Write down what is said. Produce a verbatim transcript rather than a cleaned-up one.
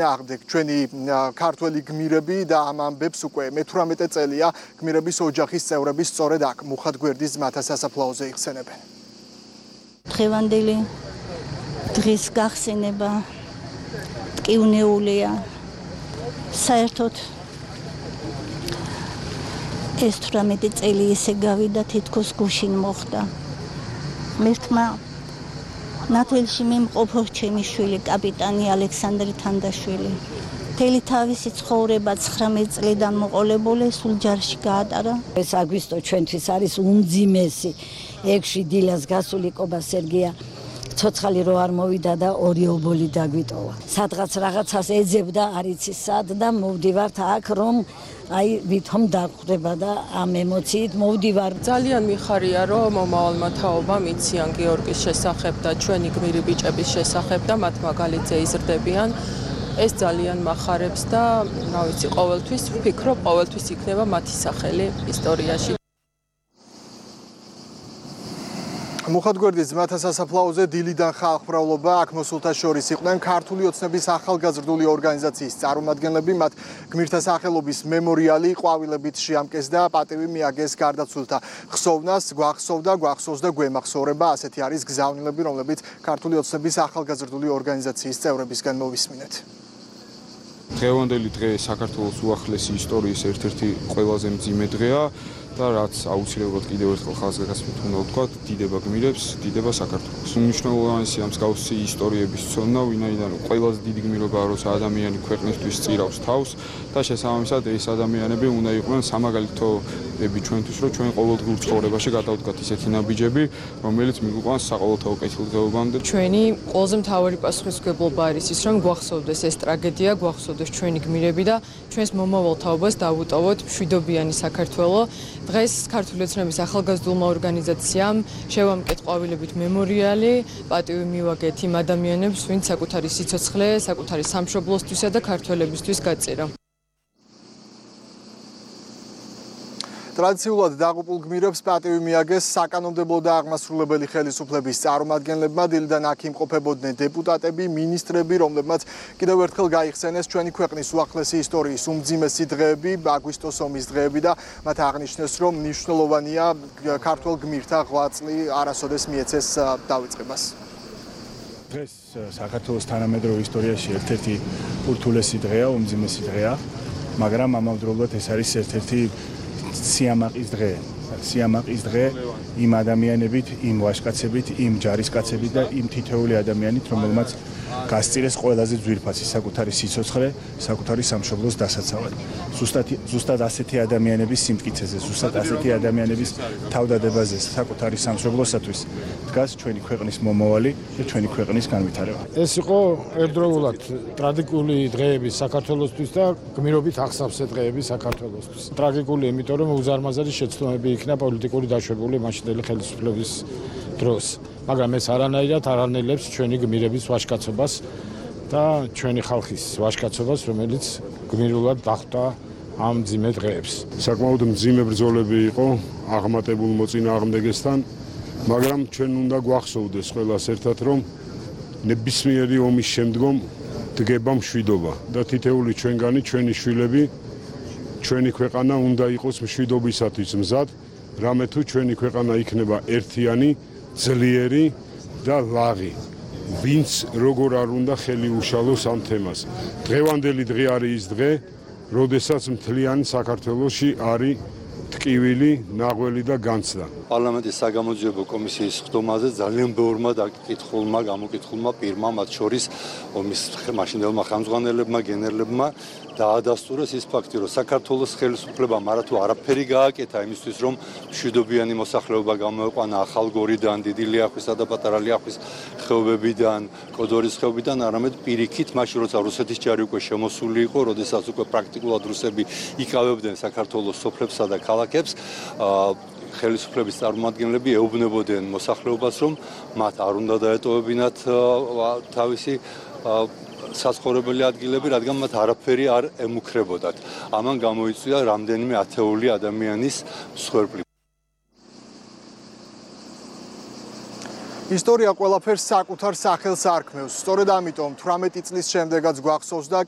აღდგ ჩვენი ქართველი გმირები და ამ ამბებს უკვე მეთვრამეტე წელია გმირების ოჯახის წევრები სწორედ აქ მუხათგვერდის ძმათა სასაფლაოზე იხსენებენ. დღევანდელი დღის გახსენება ტკივნეულია. საერთოდ ეს თვრამეტი წელი ესე გავიდა თითქოს გუშინ მოხდა. მერთმა ნათელში მიმყოფო ჩემი შვილი კაპიტანი ალექსანდრე თანდაშვილი. მთელი თავისი ცხოვრება ცხრამეტ წლიდან მოყოლებული სულ ჯარში გაატარა. ეს აგვისტო ჩვენთვის არის უმძიმესი ექვსი დილას გასული კობა სერგია ცოცხალი რო არ მოვიდა და ორი ობოლი დაგვიტოვა. სადღაც რაღაცას ეძებდა არ იცი სად და მოვდივართ აქ რომ აი ვითომ დახვდება და ამ ემოციით მოვდივარ. ძალიან მიხარია რომ მომავალმა თაობამ იციან გიორგის შესახებ და ჩვენი გმირი ბიჭების შესახებ და მათ მაგალითზე იზრდებიან. ეს ძალიან მახარებს და რა ვიცი ყოველთვის ვფიქრობ ყოველთვის იქნება მათი სახელი ისტორიაში. მუხათგვერდის ძმათა სასაფლაოზე დილიდან ხალხმრავლობა აქ მოსულთა შორის იყვნენ ქართული ოცნების ახალგაზრდული ორგანიზაციის წარმომადგენლები, მათ გმირთა სახელობის მემორიალი ყვავილებით შეამკეს და პატივი მიაგეს გარდაცვლილთა ხსოვნას, გვახსოვდა, გვახსოვს და გვემახსოვრება. ასეთი არის გზავნილები, რომლებიც ქართული ოცნების ახალგაზრდული ორგანიზაციის წევრებისგან მოვისმინეთ. დღევანდელი დღე საქართველოს უახლესი ისტორიის ერთ-ერთი ყველაზე მძიმე დღეა და რაც აუცილებლად კიდევ ერთხელ ხაზგასმით უნდა ვთქვათ, დიდება გმირებს, დიდება საქართველოს. უმნიშვნელოვანესი ამ მსგავსი ისტორიების ცოდნა, ვინაიდან ყველაზე დიდი გმირობაა, როცა ადამიანი ქვეყნისთვის წირავს თავს და შესაბამისად ეს ადამიანები უნდა იყვნენ სამაგალითოები ჩვენთვის, რომ ჩვენ ყოველდღიურ ცხოვრებაში გადავდგათ ისეთი ნაბიჯები, რომელიც მიგვიყვანს საყოველთაო კეთილდღეობამდე. ჩვენი ყველაზე მთავარი პასუხისმგებლობა არის ის, რომ გვახსოვდეს ეს ტრაგედია, გვახსოვდეს ჩვენი გმირები და ჩვენს მომავალ თაობას დავუტოვოთ მშვიდობიანი საქართველო. დღეს ქართული ოცნების ახალგაზრდულმა ორგანიზაციამ შევამკეთ ყვავილებით მემორიალი, პატივი მივაგეთ იმ ადამიანებს, ვინც საკუთარი სიცოცხლე, საკუთარი სამშობლოსთვისა და ქართველებისთვის გაწირა. ტრადიციულად დაღუპულ გმირებს პატივი მიაგეს საკანონმდებლო და აღმასრულებელი ხელისუფლების წარმომადგენლებმა. დილიდან აქ იმყოფებოდნენ დეპუტატები, მინისტრები, რომლებმაც კიდევ ერთხელ გაიხსენეს ჩვენი ქვეყნის უახლესი ისტორიის უმძიმესი დღეები, აგვისტოს ომის დღეები და მათ აღნიშნეს, რომ მნიშვნელოვანია ქართველ გმირთა ღვაწლი არასოდეს მიეცეს დავიწყებას. დღეს საქართველოს თანამედროვე ისტორიაში ერთ-ერთი ურთულესი დღეა, უმძიმესი დღეა, მაგრამ ამავდროულად ეს არის ერთ-ერთი სიამაყის დღე. სიამაყის დღე იმ ადამიანებით, იმ ვაჟკაცებით, იმ ჯარისკაცებით და იმ თითოეული ადამიანით, რომელმაც გასწირეს ყველაზე ძვირფასი საკუთარი სიცოცხლე, საკუთარი სამშობლოს დასაცავად. ზუსტად ზუსტად ასეთი ადამიანების სიმტკიცეზე, ზუსტად ასეთი ადამიანების თავდადებაზე საკუთარი სამშობლოსათვის დგას ჩვენი ქვეყნის მომავალი და ჩვენი ქვეყნის განვითარება. ეს იყო ერთდროულად ტრაგიკული დღეები საქართველოსთვის და გმირობით ახსავსე დღეები საქართველოსთვის. ტრაგიკული, იმიტომ რომ უზარმაზარი შეცდომები იქნა პოლიტიკური დაშვებული მაშინდელი ხელისუფლების დროს. მაგრამ ეს არანაირად არ ანელებს ჩვენი გმირების ვაჟკაცობას და ჩვენი ხალხის ვაჟკაცობას, რომელიც გმირულად დახვდა ამ მძიმე დღეებს. საკმაოდ მძიმე ბრძოლები იყო აღმატებულ მოწინააღმდეგესთან, მაგრამ ჩვენ უნდა გვახსოვდეს ყველას ერთად, რომ ნებისმიერი ომის შემდგომ დგება მშვიდობა და თითეული ჩვენგანი, ჩვენი შვილები, ჩვენი ქვეყანა უნდა იყოს მშვიდობისათვის მზად, რამე თუ ჩვენი ქვეყანა იქნება ერთიანი, ძლიერი და ლაღი. ვინც როგორ არ უნდა ხელი უშალოს ამ თემას. დღევანდელი დღე არის ის დღე, როდესაც მთლიანი საქართველოში არის ტკივილი, ნაღველი და განცდა. პარლამენტის საგამოძიებო კომისიის ხდომაზე ძალიან ბევრმა დაკითხულმა, გამოკითხულმა პირმა, მათ შორის ომის მაშინდელმა ხელმძღვანელებმა, გენერლებმა დაადასტურეს ის ფაქტი, რომ საქართველოს ხელისუფლებამ არა თუ არაფერი გააკეთა იმისთვის, რომ მშვიდობიანი მოსახლეობა გამოეყვანა ახალგორიდან, დიდი ლიახვისა და პატარა ლიახვის ხეობებიდან, კოდორის ხეობიდან, არამედ პირიქით, მაშინ როცა რუსეთის ჯარი უკვე შემოსული იყო, როდესაც უკვე პრაქტიკულად რუსები იკავებდნენ საქართველოს სოფლებსა და ქალაქებს, ხელისუფლების წარმომადგენლები ეუბნებოდნენ მოსახლეობას, რომ მათ არ უნდა დაეტოვებინათ თავისი საცხოვრებელი ადგილები, რადგან მათ არაფერი არ ემუქრებოდათ. ამან გამოიწვია რამდენიმე ათეული ადამიანის მსხვერპლი. ისტორია ყველაფერს საკუთარ სახელს არქმევს. სწორედ ამიტომ თვრამეტი წლის შემდეგაც გვახსოვს და